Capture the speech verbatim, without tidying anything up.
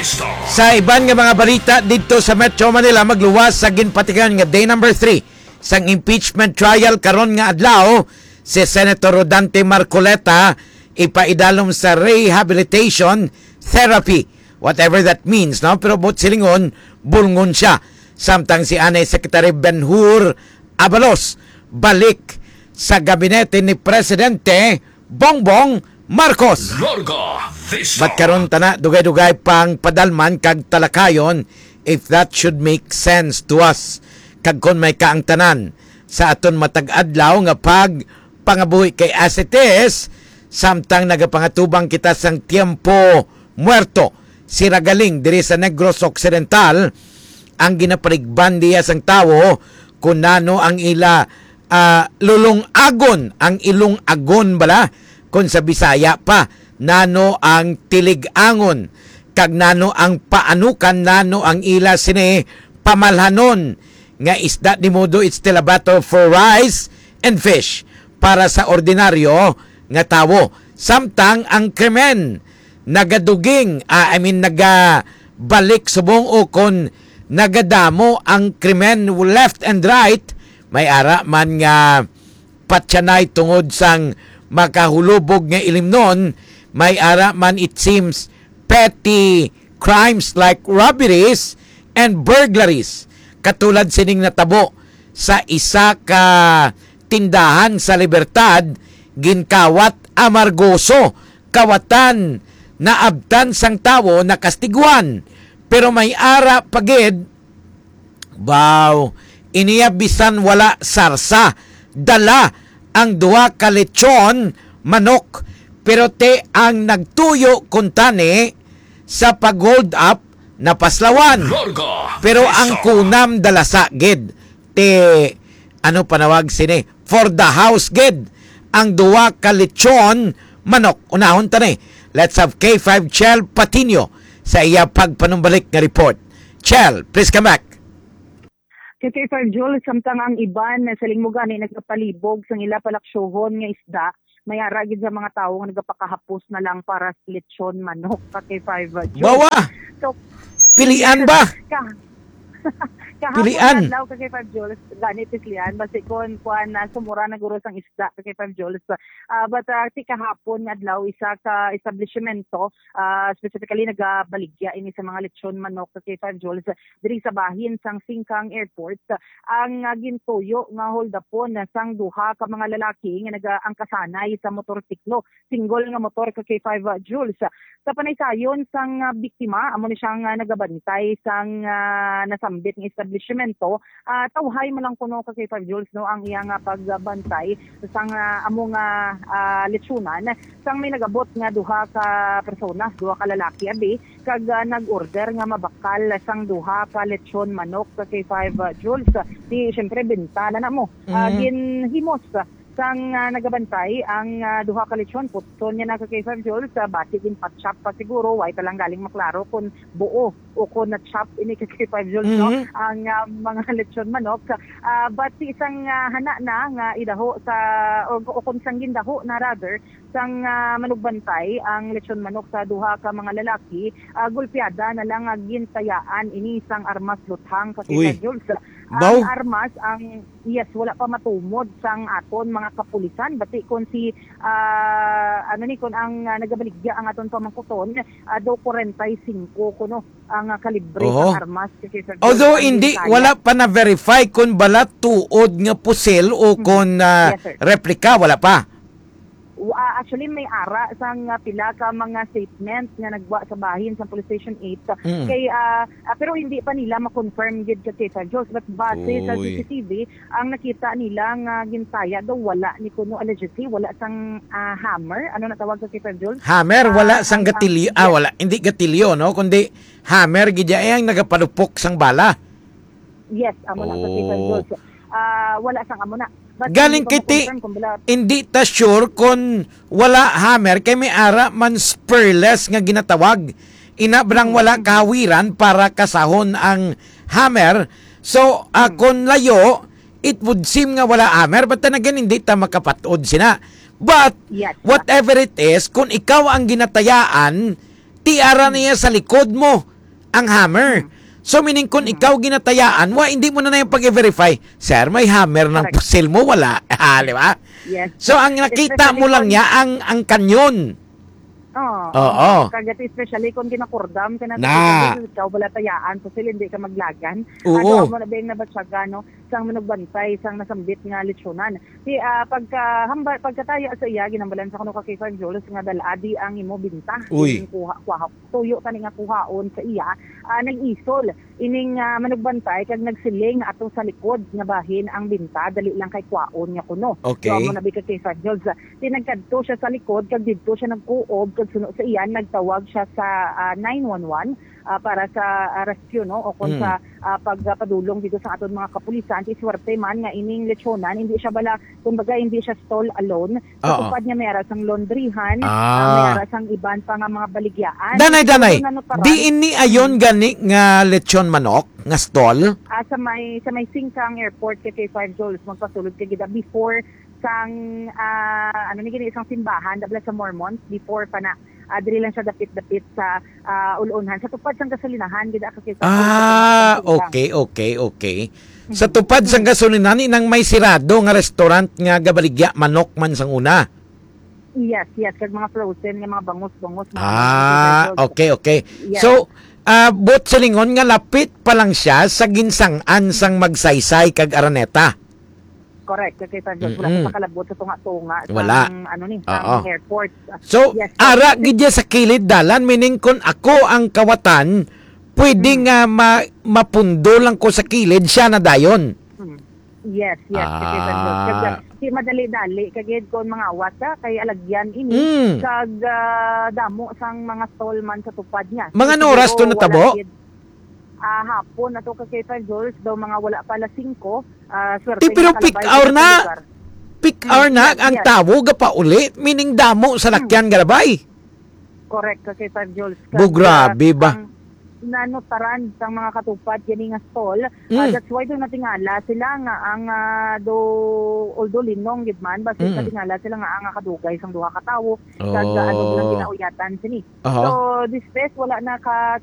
Sa iban nga mga balita didto sa Metro Manila, magluwas sa ginpatigayon nga day number three sang impeachment trial karon nga adlaw si Senator Rodante Marcoleta, ipaidalom sa rehabilitation therapy, whatever that means, no? Pero buot silingon, bulngon siya. Samtang si anay Secretary Ben-Hur Abalos balik sa gabinete ni Presidente Bongbong Marcos. Larga Vista. But karon tana, dugay-dugay pang padalman kag talakayon if that should make sense to us. Kag kon may kaangtanan sa aton matag adlaw nga pagpangabuhi kay as it is, samtang nagapangatubang kita sang tiempo muerto, si Ragaling diri sa Negros Occidental, ang ginapaligban niya sang tawo kung nano ang ila, ah, lulong-agon, ang ilong-agon bala, kung sa Bisaya pa, nano ang tilig-angon, kag nano ang paanukan, nano ang ila sini pamalhanon nga isda, di modo it's still a battle for rice and fish para sa ordinaryo nga tawo. Samtang ang krimen nagaduging, ah, I mean, nagabalik subong o kon nagadamo ang krimen left and right, may ara man nga patyanay tungod sang makahulubog nga ilimnon, may ara man, it seems, petty crimes like robberies and burglaries, katulad sining natabo sa isa ka tindahan sa Libertad, ginkawat amargoso, kawatan, naabtan sang tawo, nakastiguhan. Pero may ara pa gid, baw, iniya bisan wala sarsa, dala ang duha ka lechon manok, pero ti ang nagtuyo kuntani sa pag-hold up napaslawan. Larga Pero ang Vista. Kunam dalasa gid ti, ano panawag sini, for the house gid ang duha ka lechon manok. Unahon ta ni. Let's have K five Chel Patino sa iya pagpanumbalik nga report. Chel, please come back. K K five Jules, samtang ang iban na sa lingmo gani nagapalibog sang ila palaksyohon nga isda, may ara gid sa mga tawo nga nagapakahapos na lang para sa lechon manok, K K five Jules. Bawa! So, Pilian ba? Ka-, kahapon Pilian. Adlaw, K K five Jules, gani pislian, basi kon kuan na sumura na guro sang isda, K K five Jules. Ah, but, ah, ti kahapon nga adlaw, isa ka establishmento, ah, specifically nagabaligya ini sa mga lechon manok, K K five Jules, diri sa bahin sang Singkang Airport, ang, ah, gintuyo nga hold-upon sang duha ka mga lalaki nga nagaangkasanay sa motorsiklo, single nga motor, K K five Jules. Sa panaysayon sang, ah, biktima, amo ni siya nga nagabantay sang, ah, nasambit nga establishmento. Ah, tawhay man lang kuno, K K five Jules, no, ang iya nga pagbantay sang, ah, amo nga, ah, lechonan, sang may nagabot nga duha ka persona, duha ka lalaki abi, kag, ah, nag-order nga mabakal sang duha ka lechon manok, K K five Jules. Di, syempre, benta na na mo. Ah, Mm. Ginhimos sang, ah, nagabantay ang, ah, duha ka lechon. Putson niya na, K K five Jules, ah, basi ginpa-chop pa siguro, way pa lang galing maklaro kung buo o kung na-chop ini, K K five Jules, no? Mhm. Ang, ah, mga lechon manok. Ah, basi sang, ah, hana na nga idaho sa, o, o kung sang gindaho na, rather, sang, ah, manugbantay ang lechon manok sa duha ka mga lalaki, ah, gulpiada na lang nga gintayaan ini sang armas luthang, K K five Jules. Ang Baw. Armas, ang, yes, wala pa matumod sang aton mga kapulisan. Bati kon si, ah, ano ni, kon ang, ah, nagabaligya ang aton pamangkuton, ah, daw kwarenta y singko kuno ang, ah, kalibre Oho. Sang armas, K K five Jules. Although ang hindi, gintaya. Wala pa na-verify kung bala tuod nga pusil o Mm. Kung, ah, Yes, sir. Replika, wala pa. Wa-, ah, actually, may ara sang, ah, pila ka mga statement nga nagwa sa bahin sa Police Station eight. Mm. Kay, ah, ah, pero hindi pa nila ma-confirm gid, K K five Jules, but base sa Uy. C C T V, ang nakita nila nga gintaya daw wala ni kuno, allegedly, wala sang, ah, hammer. Ano na tawag, K K five Jules? Hammer, wala Ah, sang ang, ang, gatilyo. Ah, yes. Wala. Hindi gatilyo, no? Kundi hammer, gid ya, eh, ang nagapalupok sang bala. Yes, amo na, K K five Oh. Jules. Ah, wala sang amo na. But Galing hindi pa kay ti-, ma-confirm kung bila hindi ta sure kung wala hammer, kay may ara man spurless nga ginatawag. Ina, brang Mm. wala kahawiran para kasahon ang hammer. So, ah, Mm. kung layo, it would seem nga wala hammer. But then again, hindi ta makapat-od sina. But, Yes. whatever it is, kung ikaw ang ginatayaan, ti ara Mm. niya sa likod mo. ang hammer. Mm. So, meaning, kung Mm. ikaw ginatayaan, wa, hindi mo na na yung pag-verify, "Sir, may hammer ng Correct. pusil mo?" Wala. Ah, di ba? Yes. So, ang nakita Especially mo lang kung niya, ang, ang kanyon. Oo. Oo. Kagati, especially kung ginakurdam ka na sa Na. pusil, ikaw wala tayaan, pusil, hindi ka maglagan. Oo. Ano, amo na ba yung nabatyagan, no? Sang manugbantay, sang nasambit nga lechon-an. Si, ah, pagka, hamba-, pagkataya sa iya, ginhambalan sa kuno ka K five Jules nga dal-a di ang imo binta. Uy. Yung kuha, kuha, tuyo tani nga kuhaon sa iya, ah, nag-isol ining, ah, manugbantay kag nagsiling ato sa likod nga bahin ang binta, dali lang kay kwaon niya kuno. Okay. So, amo na bi ka K five Jules. Tinagkadto siya sa likod kag didto siya nagkuob kag suno sa iya nagtawag siya sa, ah, nine one one, ah, para sa, ah, rescue, no? O kung Mm. sa, ah, pagpadulong dito sa aton mga kapulisan. Ti swerte man nga ining lechonan, hindi siya bala, kumbaga, hindi siya stall alone. Sa Oo. tupad niya may ara sang laundryhan, Ah. ah, may ara sang iban pa nga mga baligyaan. Danay, So, danay. Ano, ano, Di ini ayon Mm. gani nga lechon manok nga stall? Ah, sa may, sa may Singkang Airport kay, kay Five Jules, magpasulod ka gid before sang, ah, ano ni gini, isang simbahan, dabla sa Mormons, before pa na, ah, diri lang siya dapit-dapit sa, ah, ulunhan. Sa tupad sang gasolinahan, gid, ah, kakita ko sa Ah, mga okay, okay, okay. Sa Mhm. tupad sang gasolinahan, inang may sirado nga restaurant nga gabaligya manok man sang una. Yes, yes, kag mga frozen nga mga bangus-bangus, mga Ah, ano, okay, okay. Yes. So, ah, buot silingon nga lapit pa lang siya sa ginsang-an sang Magsaysay kag Araneta. Correct, kay San Jose, wala Mm-mm. sa kalabot sa tunga-tunga Wala. sang, ano ni, Oo. sang airport. So, Yes, so, ara gid niya sa kilid dalan, meaning kung ako ang kawatan, pwede Mm. nga ma-, mapundo lang ko sa kilid, siya na dayon. Mm. Yes, yes, kay San Jose. Ah. Kag, di madali-dali, kag gid kung mga awat ka, kay alagyan ini, Mm. kag, ah, damo sang mga stall man sa tupad niya. Mga So, ano oras to siguro natabo? wala gid. Ah, hapon na to, Kakay Jules, daw mga wala pa alas singko, ah, swerte Eh, pero nga peak kalabay hour sa na. lugar. Peak Hmm, hour na yes, ang yes. tawo gapauli, meaning damo sa Hmm. lakyan garabay. Correct, Kakay Jules. Bo, Kag, grabe ah, ba? ang nanutaran sang mga katupad gani nga stall, ah, Hmm. that's why daw natingala sila nga ang, ah, do, although linong gid man, basta Hmm. natingala sila nga ang kadugay sang duha ka tawo, kag, ah, ano, Oh. lang ginauyatan sini. Aha. So, this fest, wala na ka